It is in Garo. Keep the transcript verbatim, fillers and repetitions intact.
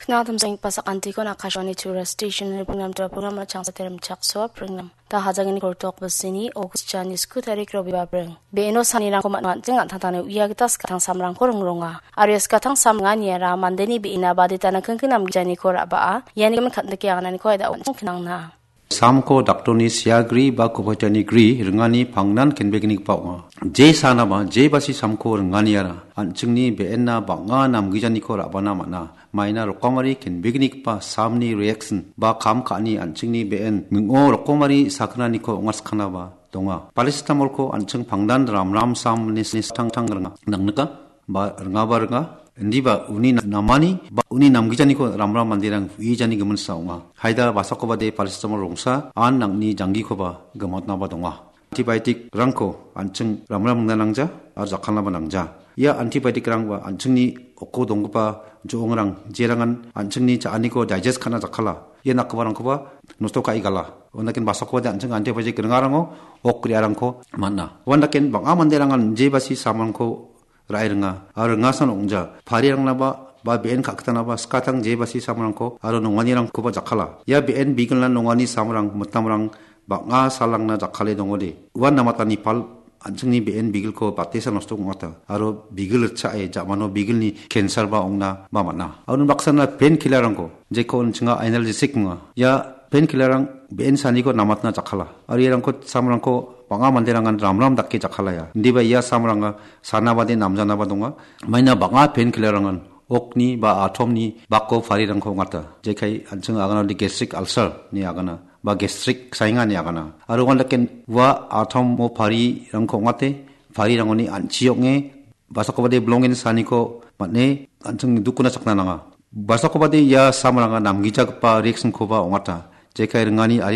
Kna damsenggipa sakantikon Akashvani Tura Station-ni pringnam dua pringnamna changsa terim chaksoa pringnam. Da hajangini kortok basini August jani sku tarik Robiba pring. Be·eno sanirangko man·, an·ching an·tangtangni uia gita skatang samrangko ringronga. Aro ia skatang samringaniara mandeni be·ena baditana kingking namgijaniko ra·baa, iani gimin kan·dike angananiko aida on·ching knangna. Samko daktorni seagri ba koboitani gri ringani pangnan kenbegnigipa ong·a. Je sanaba, je basi samko ringaniara an·chingni be·enna bang·a namgijaniko ra·bana man·a. Maina rokomari kenbegnigipa samni reaction ba kam ka·ani an·chingni be·en ming·o rokomari sakgnaniko ong·atskangaba donga. Paracetamolko an·ching pangnan ramram sam nis-, nis-, tangtang ringa. Nangnika? Ba ringaba ringa, indiba uni na-, namani ba uni namgijaniko ramram manderang uijani giminsa ong·a. Haida basakobade paracetamol rongsa an nangni janggikoba gimatnaba donga. Antibiotic-rangko an·ching ramram ringna nangja aro jakkalnaba nangja. Ia antibiotic-rangba an·chingni oko donggipa jo·ongrang jerangan an·chingni cha·aniko digest ka·na jakkala. Ia nakgiparangkoba nosto ka·e gala. Uandaken basakobade an·ching antibiotic ringarango ok re·arangko man·a. Uandaken bang·a manderangan je basi samrangko ra·e ringa, aro ringasan ong·ja. Parirangnaba, ba be·en ka·gitanaba skatang je basi samrangko aro nonganirangkoba jakkala. Ia be·en bigilna nongani samrang, mitamrang bang·a salrangna jakkale dongode. Uan namatani pal an·chingni be·en bigilko batesa nosto ong·ata. Aro bigil ritchae ja·mano bigilni cancer-ba ong·na ba man·a. Aro unbaksana painkiller-rangko jeko an·chinga analgesic ong·a. Ia painkiller-rang be·en saniko namatna jakkala. Aro iarangko samrangko bang·a manderangan ramram dake jakkalaya. Indiba ia samranga sanabade namjanaba donga. Maina bang·a painkiller-rangan okni ba atomni bako parirangko ong·ata. Jekai an·ching aganode gastric ulcer ni agana ba gastric sainga ni agana. Aro uandaken ua atomo parirangko ong·ate, parirangoni an·chi ong·e, basakobade bilongen saniko man·e an·ching dukuna chakna nanga. Basakobade ia samranga namgijagipa reaction-koba ong·ata. Jekai ringani ari